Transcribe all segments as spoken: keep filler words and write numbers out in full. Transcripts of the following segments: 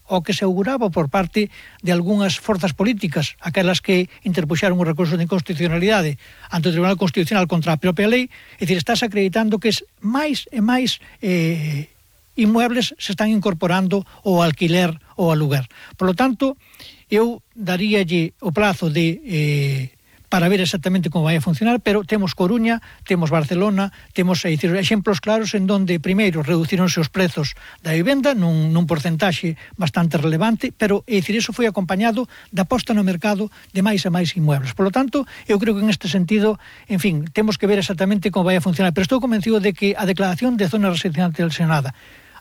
o que se auguraba por parte de algunhas forzas políticas, aquelas que interpuxeron o recurso de inconstitucionalidade ante o Tribunal Constitucional contra a propia lei, é dicir, estás acreditando que es máis e máis eh, inmuebles se están incorporando ao alquiler ou ao aluguer. Por lo tanto, eu daríalle o plazo de... Eh, para ver exactamente como vai a funcionar, pero temos Coruña, temos Barcelona, temos é dicir, exemplos claros en donde, primeiro, reducironse os prezos da vivenda nun, nun porcentaxe bastante relevante, pero, é dicir, iso foi acompañado da posta no mercado de máis e máis inmuebles. Por lo tanto, eu creo que en este sentido, en fin, temos que ver exactamente como vai a funcionar, pero estou convencido de que a declaración de zona residencial tensionada,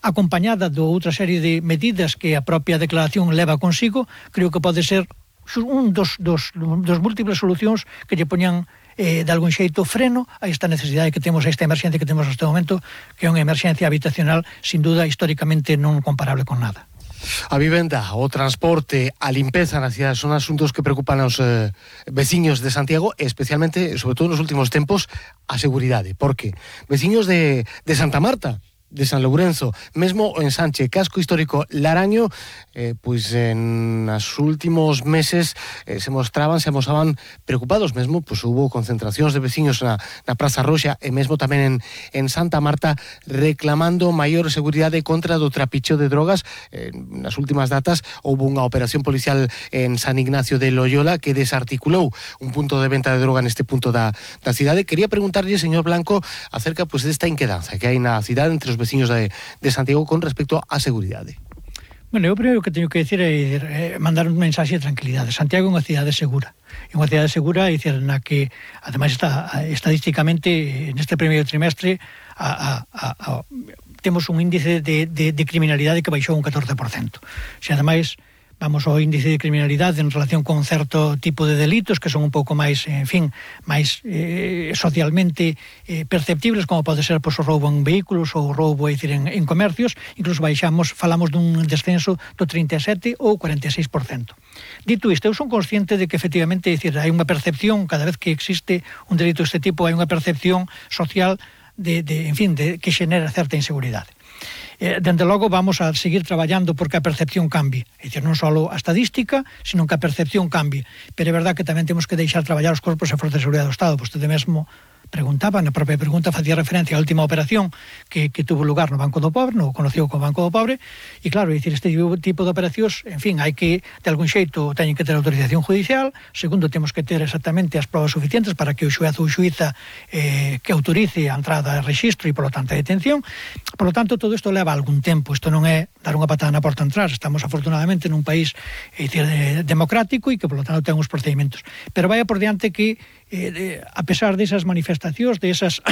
acompañada de outra serie de medidas que a propia declaración leva consigo, creo que pode ser un dos, dos, dos múltiples solucións que lle poñan eh, de algún xeito freno a esta necesidade que temos, a esta emerxencia que temos neste momento, que é unha emerxencia habitacional sin duda históricamente non comparable con nada. A vivenda, o transporte, a limpeza na cidade son asuntos que preocupan aos eh, veciños de Santiago, especialmente, sobre todo nos últimos tempos, a seguridade. Porque veciños de, de Santa Marta, de San Lourenzo, mesmo en Sanche, casco histórico Laraño, eh, pois en os últimos meses eh, se mostraban, se amosaban preocupados, mesmo, pois hubo concentracións de veciños na, na Praza Roxa e mesmo tamén en, en Santa Marta reclamando maior seguridade contra do trapicheo de drogas. Eh, nas últimas datas houve unha operación policial en San Ignacio de Loyola que desarticulou un punto de venta de droga neste punto da, da cidade. Quería preguntarlle, señor Blanco, acerca pois desta inquedanza que hai na cidade entre os veciños de, de Santiago con respecto á seguridade. Bueno, eu primeiro que teño que decir é, é mandar un mensaxe de tranquilidade. Santiago é unha cidade segura. É unha cidade segura, é dicir, na que, ademais, está estadísticamente, neste primeiro trimestre, a, a, a, a, temos un índice de, de, de criminalidade que baixou un catorce por cento. Se, ademais, vamos ao índice de criminalidade en relación con certo tipo de delitos que son un pouco máis, en fin, máis eh, socialmente eh, perceptibles, como pode ser pois, o roubo en vehículos ou o roubo, é dicir, en, en comercios, incluso baixamos, falamos dun descenso do trinta e sete ou cuarenta e seis por cento. Dito isto, eu son consciente de que efectivamente, é dicir, hai unha percepción, cada vez que existe un delito deste tipo, hai unha percepción social de, de en fin, de, que xenera certa inseguridade. Eh, dende logo vamos a seguir traballando porque a percepción cambie, é dicir, non só a estadística, sino que a percepción cambie, pero é verdad que tamén temos que deixar traballar os corpos e forzas de seguridade do Estado. Vostede mesmo preguntaba, na propia pregunta facía referencia á última operación que, que tuvo lugar no Banco do Pobre, no conocido como Banco do Pobre, e claro, é dicir, este tipo de operacións, en fin, hai que, de algún xeito, teñen que ter autorización judicial. Segundo, temos que ter exactamente as probas suficientes para que o xuez ou xuíza eh, que autorice a entrada de registro e, polo tanto, a detención. Por lo tanto, todo isto leva algún tempo. Isto non é dar unha patada na porta a entrar. Estamos, afortunadamente, nun país é dicir, eh, democrático e que, por lo tanto, ten uns procedimentos. Pero vaya por diante que Eh, de, a pesar desas manifestacións, desas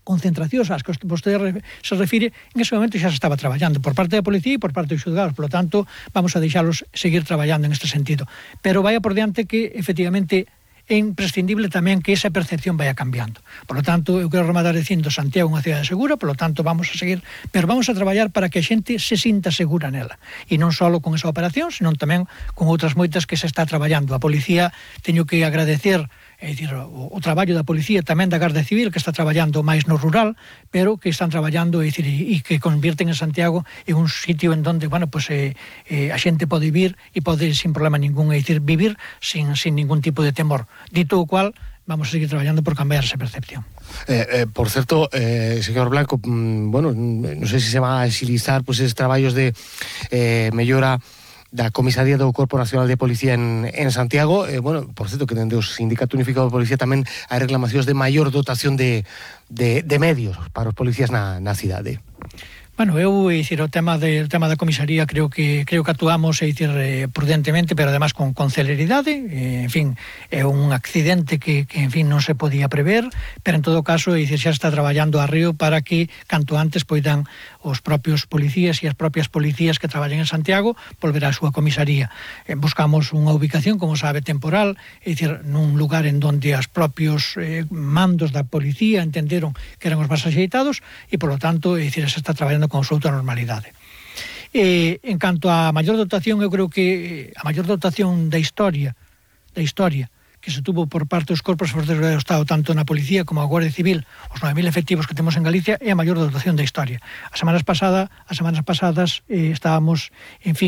concentracións ás que vostede se refire, en ese momento xa se estaba traballando por parte da policía e por parte dos xulgados, por lo tanto, vamos a deixalos seguir traballando en este sentido. Pero vaya por diante que, efectivamente, é imprescindible tamén que esa percepción vaya cambiando. Por lo tanto, eu quero rematar dicindo Santiago é unha cidade segura, por lo tanto, vamos a seguir, pero vamos a traballar para que a xente se sinta segura nela. E non só con esa operación, senón tamén con outras moitas que se está traballando. A policía, teño que agradecer é dicir, o, o traballo da policía, tamén da Garda Civil, que está traballando máis no rural, pero que están traballando, é dicir, e, e que convierten en Santiago en un sitio en donde, bueno, pues, eh, eh, a xente pode vivir e pode, sin problema ningún, é dicir, vivir sin, sin ningún tipo de temor. Dito o cual, vamos a seguir traballando por cambiar esa percepción. Eh, eh, por certo, eh, señor Blanco, mm, bueno, non sei se se va a exilizar pues, esos traballos de eh, mellora da Comisaría do Corpo Nacional de Policía en, en Santiago. Eh, bueno, por certo, que dende o Sindicato Unificado de Policía tamén hai reclamacións de maior dotación de, de, de medios para os policías na, na cidade. Bueno, eu, é dicir, o tema, de, o tema da comisaría creo que creo que actuamos, é dicir, eh, prudentemente, pero además con, con celeridade. Eh, en fin, é un accidente que, que, en fin, non se podía prever, pero en todo caso, é dicir, xa está traballando a río para que, canto antes, poidan os propios policías e as propias policías que traballan en Santiago volver á súa comisaría. Eh, buscamos unha ubicación, como sabe, temporal, é dicir, nun lugar en donde os propios eh, mandos da policía entenderon que eran os máis axeitados e, polo tanto, é dicir, se está traballando con absoluta normalidade. Eh, en canto á maior dotación, eu creo que a maior dotación da historia, da historia, que se tuvo por parte dos corpos fortes do Estado, tanto na Policía como a Guardia Civil, os nove mil efectivos que temos en Galicia, é a maior dotación da historia. As semanas pasadas, as semanas pasadas eh, estábamos, en fin,